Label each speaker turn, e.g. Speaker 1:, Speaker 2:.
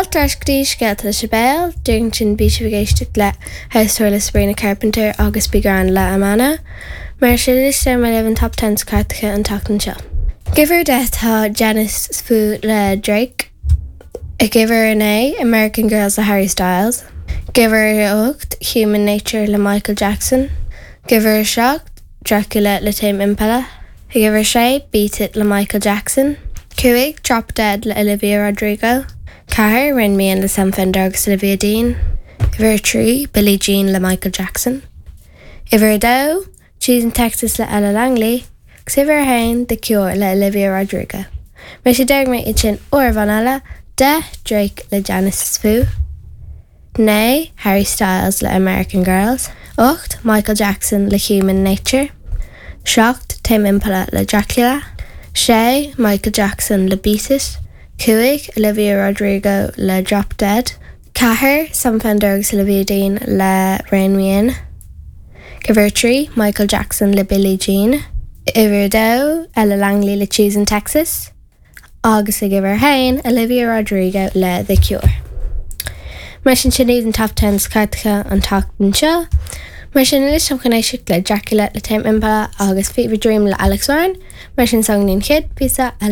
Speaker 1: Fáilte ar ais go dtí Scéalta le Sibéal, díreach ansin bhí sibh ag éisteacht le House Tour le Sabrina Carpenter agus Be Grand le Amana. Mar sin anois déarfaidh mé libh an Top Ten sna cairteacha an tseachtain seo. Ag uimhir 10 tá Janice Fu le Drake. Ag uimhir 9, American Girls le Harry Styles. Ag uimhir 8, Human Nature le Michael Jackson. Ag uimhir 7, Dracula le Tame Impala. Ag uimhir 6, Beat It le Michael Jackson. 5, Drop Dead le Olivia Rodrigo. 4, Rein Me In le Sam Fender agus Olivia Dean. Uimhir 3, Billie Jean le Michael Jackson. Uimhir 2, Cheese in Texas le Ella Langley. Agus uimhir 1, The Cure le Olivia Rodrigo. Mar sin déarfaidh mé iad sin uair amháin eile, 10, Drake le Janice Fu. 9, Harry Styles le American Girls. 8, Michael Jackson le Human Nature. 7, Tame Impala le Dracula. 6, Michael Jackson le Beat It. 5, Olivia Rodrigo le Drop Dead. 4, Sam Fender agus Olivia Dean le Rein Me In. Uimhir 3, Michael Jackson le Billie Jean. Uimhir 2, Ella Langley le Cheese in Texas. Agus ag uimhir 1, Olivia Rodrigo le The Cure. Mar sin sin iad an Top Ten sna cairteacha an tseachtain seo. Mar sin anois táim chun éisteacht le Dracula le Tame Impala agus Fever Dream le Alex Warren. Mar sin s'againn an chéad phíosa eile.